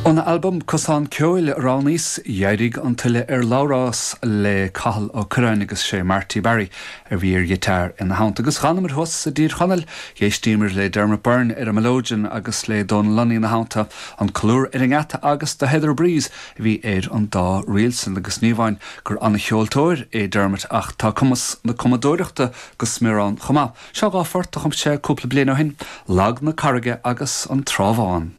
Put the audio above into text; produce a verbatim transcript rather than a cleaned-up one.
Óna albam Cosán Ceoil a roghnaíos D'éirigh an tuile ar Labhrás le Cathal Ó Curráin agus sé Marty Barry a bhí ar ghiotár ina theannta agus d'fhanamar thuas i dTír Chonaill d'éistíomar le Dermot Byrne ar an mileoidean agus le Donal Lunny ina theannta an colúr ar an ngeata agus The Heather Breeze a bhí ar an dá ríl sin agus ní hamháin gur an-cheoltóir é Dermot ach tá cumas na cumadóireachta go smior ann chomh maith. Seo dhá phort a chum sé cúpla bliain ó shin, Lag na Carraige agus an Trá Bhán.